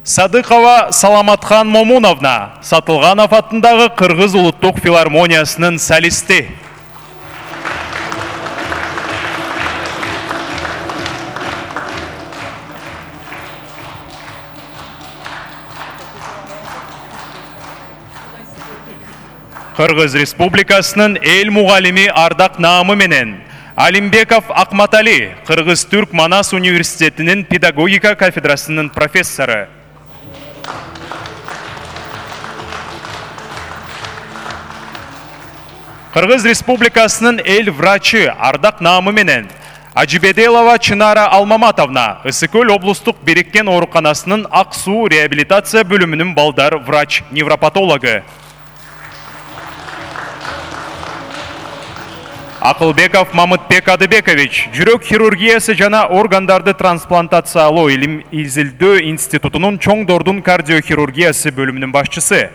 Садыкова Саламатхан Момуновна, Сатылганов атындагы Кыргыз улуттук филармониясынын солисти. Кыргыз Республикасынын эл мугалими ардак наамы менен Алимбеков Акматали, Кыргыз-Түрк Манас университетинин педагогика кафедрасынын профессору. Кыргыз Республикасынын эл врачы ардак наамы менен Ажибеделова Чынара Алмаматовна, Ысыкөл облустук бириккен ооруканасынын Ак суу реабилитация бөлүмүнүн балдар врач-невропатологу. Акылбеков Мамытбек Адыбекович, жүрөк хирургиясы жана органдарды трансплантациялоо илим изилдөө институтунун чоңдордун кардиохирургиясы бөлүмүнүн башчысы.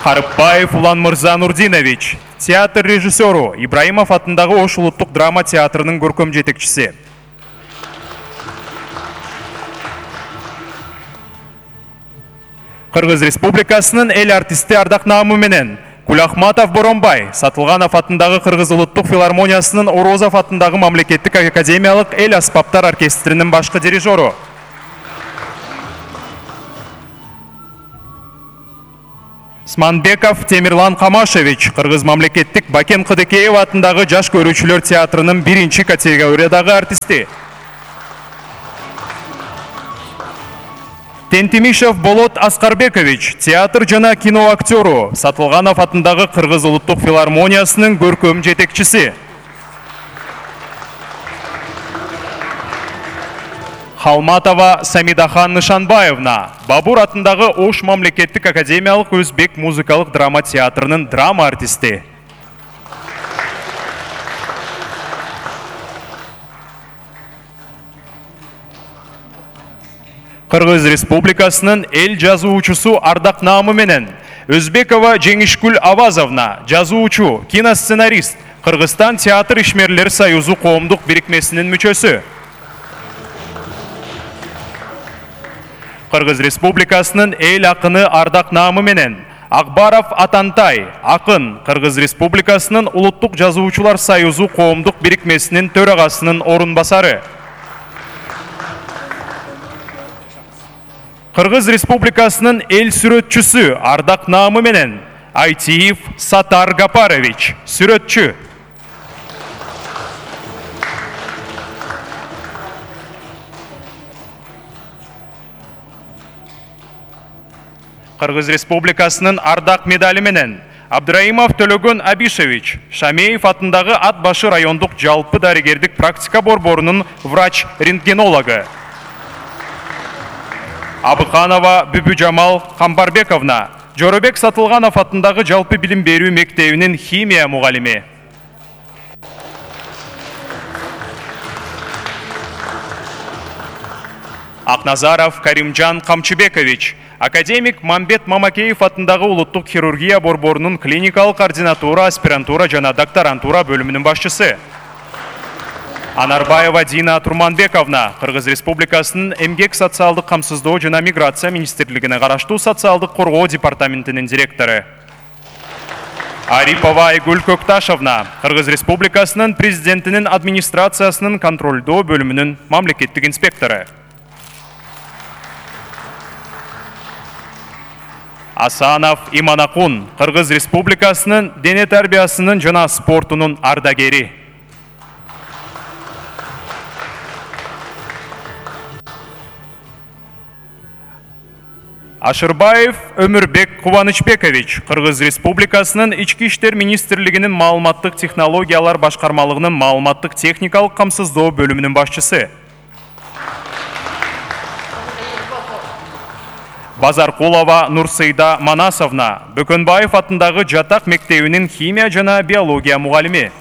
Карыпбаев Улан Мырза Нурдинович, театр режиссеру, Ибраимов атындагы Ош улуттук драма театрынын көркөм жетекчиси. Кыргыз Республикасынын эл артисти ардак наамы менен Кулахматов Боронбай, Сатылганов атындагы Кыргыз улуттук филармониясынын Орозов атындагы мамлекеттик академиялык эл аспаптар оркестринин башкы дирижеру. Сманбеков Темирлан Камашевич, Кыргыз мамлекеттик Бакен Кыдыкеев атындагы жаш көрүүчүлөр театрынын 1-чи категориядагы артисти. Тентимишев Болот Аскарбекович, театр жана кино актеру, Сатылганов атындагы Кыргыз улуттук филармониясынын көркөм жетекчиси. Халматова Самидахан Нышанбаевна, Бабур атындагы Ош мамлекеттик академиялык өзбек музыкалык драма театрынын драма артисти. Кыргыз Республикасынын эл жазуучусу ардак наамы менен Өзбекова Жеңишкүл Авазовна, жазуучу, киносценарист, Кыргызстан театр ишмерлер союзу коомдук бирикмесинин мүчөсү. Кыргыз Республикасынын эл акыны ардак наамы менен Акбаров Атантай, акын, Кыргыз Республикасынын улуттук жазуучулар союзу коомдук бирикмесинин төрагасынын орун басары. Кыргыз Республикасынын эл сүрөтчүсү ардак наамы менен Айтиев Сатар Гапарович, сүрөтчү. Кыргыз Республикасынын ардак медали менен Абдраимов Төлөгөн Абишевич, Шамеев атындагы Ат башы райондук жалпы дарыгердик практика борборунун врач-рентгенологу. Абыканова Бүбүжамал Камбарбековна, Жоробек Сатылганов атындагы жалпы билим берүү мектебинин химия мугалими. Акназаров Каримжан Камчыбекович, академик Мамбет Мамакеев атындагы улуттук хирургия борборунун клиникалык координатура, аспирантура жана докторантура бөлүмүнүн башчысы. Анарбаева Дина Турманбековна, Кыргыз Республикасынын эмгек социалдык камсыздоо жана миграция министрлигине караштуу социалдык коргоо департаментинин директору. Арипова Айгүл Көкташовна, Кыргыз Республикасынын президентинин администрациясынын контролдоо бөлүмүнүн мамлекеттик инспектору. Асанов Иманакун, Кыргыз Республикасынын дене тарбиясынын жана спортунун ардагери. Ашырбаев Өмүрбек Кубанычбекович, Кыргыз Республикасынын Ички иштер министрлигинин маалыматтык технологиялар башкармалыгынын маалыматтык техникалык камсыздоо бөлүмүнүн башчысы. Базаркулова Нурсыйда Манасовна, Бөкөнбаев атындагы Жатак мектебинин химия жана биология мугалими.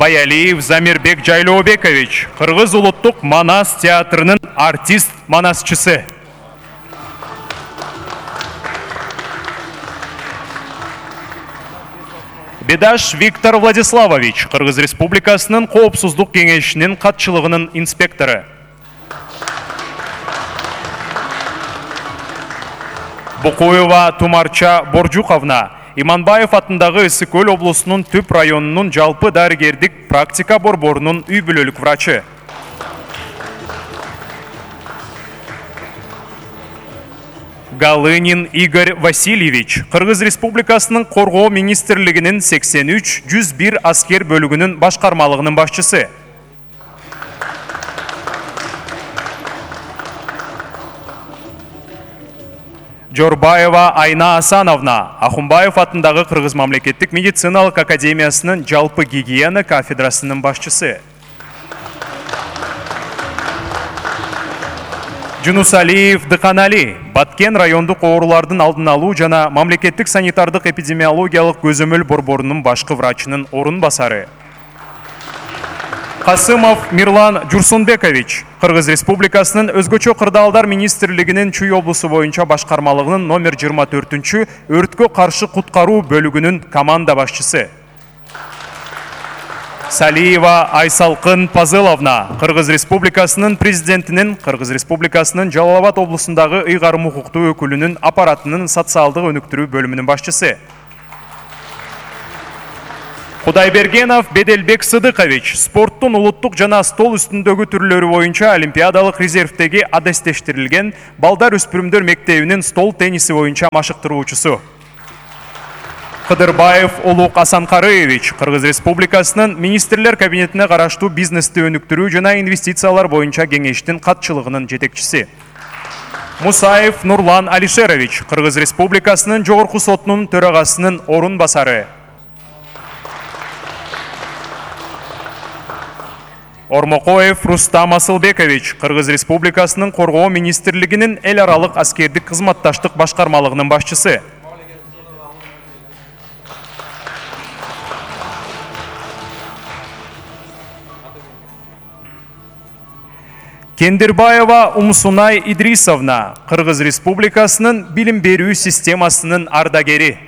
Баялиев Замирбек Жайлообекович, Кыргыз улуттук Манас театрынын артист манасчысы. Бедаш Виктор Владиславович, Кыргыз Республикасынын Коопсуздук кеңешинин катчылыгынын инспектору. Букуева Тумарча Боржуковна, Иманбаев атындагы Ысык-Көл облусунун Түп районунун жалпы дарыгердик практика борборунун үй бүлөлүк врачы. Галынин Игорь Васильевич, Кыргыз Республикасынын Коргоо министрлигинин 83-101 аскер бөлүгүнүн башкармалыгынын башчысы. Жорбаева Айна Асановна, Ахунбаев атындагы Кыргыз мамлекеттик медициналык академиясынын жалпы гигиена кафедрасынын башчысы. Жунусалиев Дыканали, Баткен райондук оорулардын алдын алуу жана мамлекеттик санитардык эпидемиологиялык көзөмөл борборунун башкы врачынын орун басары. Касымов Мирлан Журсунбекович, Кыргыз Республикасынын өзгөчө кырдаалдар министрлигинин Чүй облусу боюнча башкармалыгынын номер 24-чү өрткө каршы куткаруу бөлүгүнүн команда башчысы. Салиева Айсалкын Пазыловна, Кыргыз Республикасынын президентинин Кыргыз Республикасынын Жалал Абад облусундагы ыйгарым укуктуу өкүлүнүн аппаратынын социалдык өнүктүрүү бөлүмүнүн башчысы. Кудайбергенов Беделбек Сыдыкович, спорттун улуттук жана стол үстүндөгү түрлөрү боюнча олимпиадалык резервдеги адестештирилген балдар өспүрүмдөр мектебинин стол тенниси боюнча машыктыруучусу. Кыдырбаев Улук Асанкарыевич, Кыргыз Республикасынын министрлер кабинетине караштуу бизнести өнүктүрүү жана инвестициялар боюнча кеңештин катчылыгынын жетекчиси. Мусаев Нурлан Алишерович, Кыргыз Республикасынын Жогорку сотунун төрагасынын орун басары. Ормокоев Рустам Асылбекович, Кыргыз Республикасынын Коргоо министрлигинин эл аралык аскердик кызматташтык башкармалыгынын башчысы. Кендирбаева Умсунай Идрисовна, Кыргыз Республикасынын билим берүү системасынын ардагери.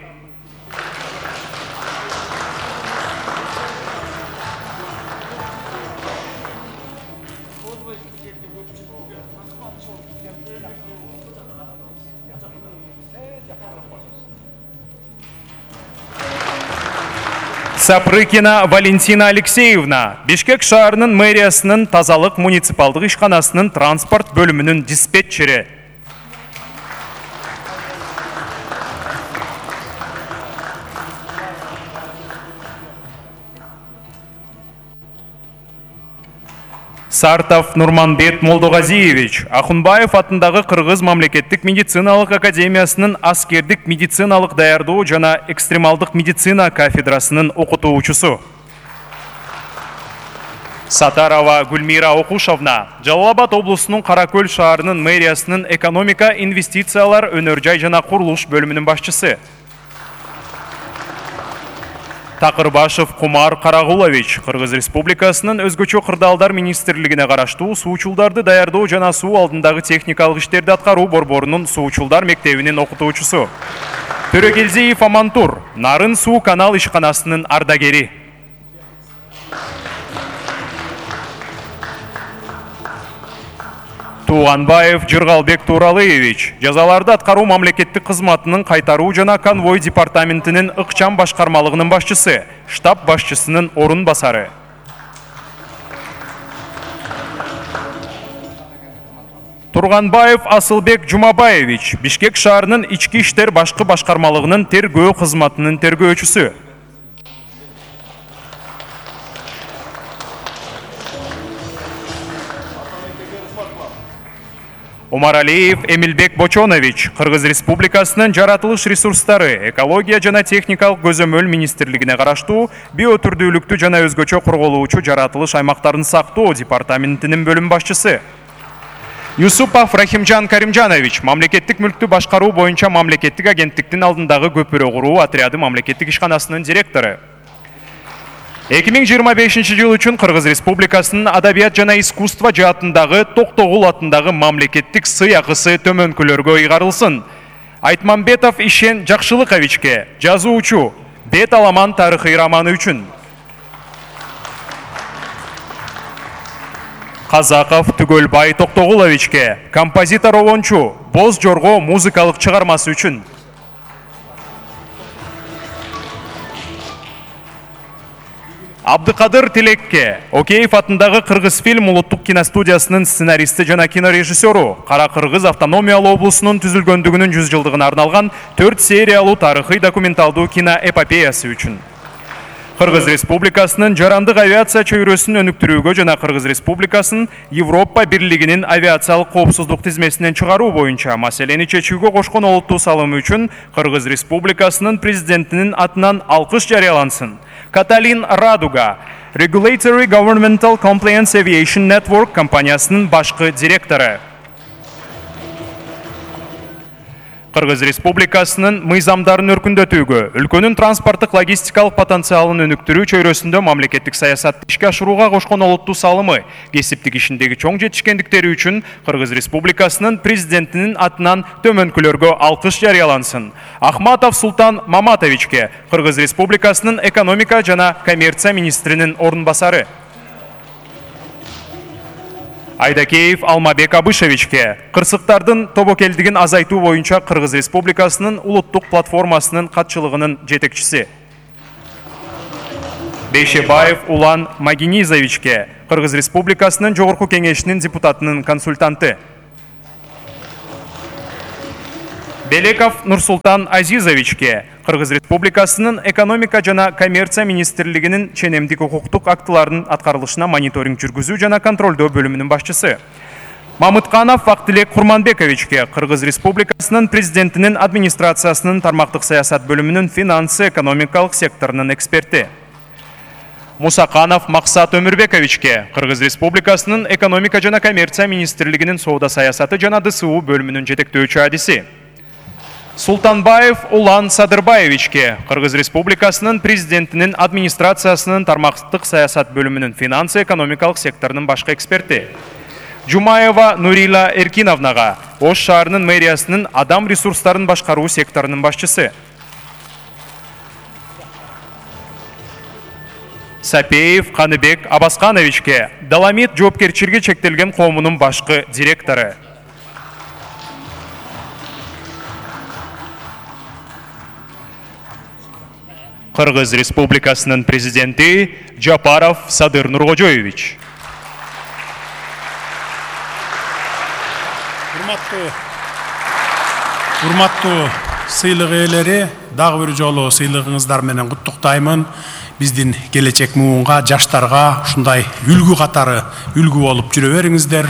Сапрыкина Валентина Алексеевна, Бишкек шаарынын мэриясынын тазалык муниципалдык ишканасынын транспорт бөлүмүнүн диспетчери. Сартов Нурманбет Молдогазиевич, Ахунбаев атындагы Кыргыз мамлекеттик медициналык академиясынын аскердик медициналык даярдоо жана экстремалдык медицина кафедрасынын окутуучусу. Сатарова Гүлмира Окушовна, Жалал Абад облусунун Каракөл шаарынын мэриясынын экономика, инвестициялар, өнөр жай жана курулуш бөлүмүнүн башчысы. Такырбашев Кумар Карагулович, Кыргыз Республикасынын өзгөчө кырдаалдар министрлигине караштуу суучулдарды даярдоо жана суу алдындагы техникалык иштерди аткаруу борборунун суучулдар мектебинин окутуучусу. Төрөгелдиев Амантур, Нарын суу канал ишканасынын ардагери. Туганбаев Жыргалбек Туралыевич, жазаларды аткаруу мамлекеттик кызматынын кайтаруу жана конвой департаментинин ыкчам башкармалыгынын башчысы, штаб башчысынын орун басары. Турганбаев Асылбек Жумабаевич, Бишкек шаарынын ички иштер башкы башкармалыгынын тергөө кызматынын тергөөчүсү. Омаралиев Эмилбек Бочонович, Кыргыз Республикасынын жаратылыш ресурстары, экология жана техникалык көзөмөл министрлигине караштуу биотүрдүүлүктү жана өзгөчө корголуучу жаратылыш аймактарын сактоо департаментинин бөлүм башчысы. Юсупов Рахимжан Каримжанович, мамлекеттик мүлктү башкаруу боюнча мамлекеттик агенттиктин алдындагы көпүрө куруу отряды мамлекеттик ишканасынын директору. 2025 жыл үчүн Кыргыз Республикасынын адабият жана искусство жаатындагы Токтогул атындагы мамлекеттик сый акысы төмөнкүлөргө ыйгарылсын. Айтмамбетов Ишен Жакшылыковичке, жазуучу, Бет аламан тарыхый романы үчүн. Казаков Түгөлбай Токтогуловичке, композитор Олончу, Боз Жорго музыкалык чыгармасы үчүн. Абдыкадыр Тилекке, Океев атындагы Кыргыз фильм улуттук киностудиясынын сценаристи жана кинорежиссеру, Кара Кыргыз автономиялуу облусунун түзүлгөндүгүнүн 100 жылдыгына арналган 4 сериялуу тарыхый документалдуу киноэпопеясы үчүн. Кыргыз Республикасынын жарандык авиация чөйрөсүн өнүктүрүүгө жана Кыргыз Республикасын Европа Бирлигинин авиациялык коопсуздук тизмесинен чыгаруу боюнча маселени чечүүгө кошкон олуттуу салымы үчүн Кыргыз Республикасынын президентинин атынан алкыш жарыялансын. Каталин Радуга, Regulatory Governmental Compliance Aviation Network компаниясынын башкы директору. Кыргыз Республикасынын мыйзамдарын өркүндөтүүгө, өлкөнүн транспорттук логистикалык потенциалын өнүктүрүү чөйрөсүндө мамлекеттик саясатты ишке ашырууга кошкон олуттуу салымы, кесиптик ишиндеги чоң жетишкендиктери үчүн Кыргыз Республикасынын президентинин атынан төмөнкүлөргө алкыш жарыялансын. Ахматов Султан Маматовичке, Кыргыз Республикасынын экономика жана коммерция министринин орун басары. Айдакеев Алмабек Абышевичке, кырсыктардын тобокелдигин азайтуу боюнча Кыргыз Республикасынын улуттук платформасынын катчылыгынын жетекчиси. Бейшебаев Улан Магинизовичке, Кыргыз Республикасынын Жогорку кеңешинин депутатынын консультанты. Белеков Нурсултан Азизовичке, Кыргыз Республикасынын экономика жана коммерция министрлигинин ченемдик укуктук актыларынын аткарылышына мониторинг жүргүзүү жана контролдоо бөлүмүнүн башчысы. Мамытканов Вактилек Курманбековичке, Кыргыз Республикасынын президентинин администрациясынын тармактык саясат бөлүмүнүн финансы экономикалык секторунун эксперти. Мусаканов Максат Өмүрбековичке, Кыргыз Республикасынын экономика жана коммерция министрлигинин соода саясаты жана ДСУ бөлүмүнүн жетектөөчү адиси. Султанбаев Улан Садырбаевичке, Кыргыз Республикасынын президентинин администрациясынын тармактык саясат бөлүмүнүн финансы экономикалык секторунун башкы эксперти. Жумаева Нурила Эркиновнага, Ош шаарынын мэриясынын адам ресурстарын башкаруу секторунун башчысы. Сапеев Каныбек Абаскановичке, Доломит жоопкерчилиги чектелген коомунун башкы директору. Кыргыз Республикасынын президенти Жапаров Садыр Нуркожоевич. Урматтуу сыйлык ээлери, дагы бир жолу сыйлыгыңыздар менен куттуктаймын. Биздин келечек муунга, жаштарга ушундай үлгү катары үлгү болуп жүрө бериңиздер.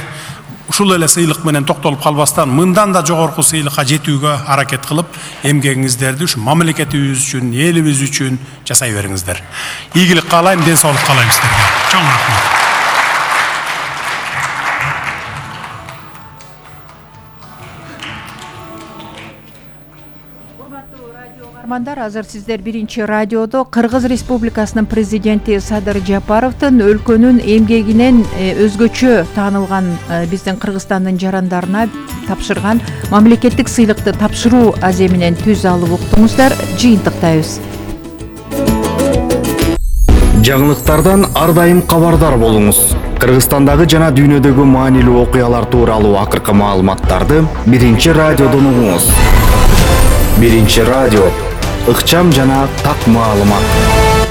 Ушул эле сыйлык менен токтолуп калбастан мындан да жогорку сыйлыкка жетүүгө аракет кылып, эмгегиңиздерди ушу мамлекетибиз үчүн, элибиз үчүн жасай бериңиздер. Ийгилик каалайм, ден соолук каалайм сиздерге. Чоң рахмат. Азыр сиздер биринчи радиодо Кыргыз Республикасынын президенти Садыр Жапаровдун өлкөнүн эмгегинен өзгөчө таанылган биздин Кыргызстандын жарандарына тапшырган мамлекеттик сыйлыкты тапшыруу аземинен түз алып уктуңуздар. Жыйынтыктайбыз. Жаңылыктардан ар дайым кабардар болуңуз. Кыргызстандагы жана дүйнөдөгү маанилүү окуялар тууралуу акыркы маалыматтарды биринчи радиодон угуңуз. Биринчи радио, ыкчам жана так маалымат.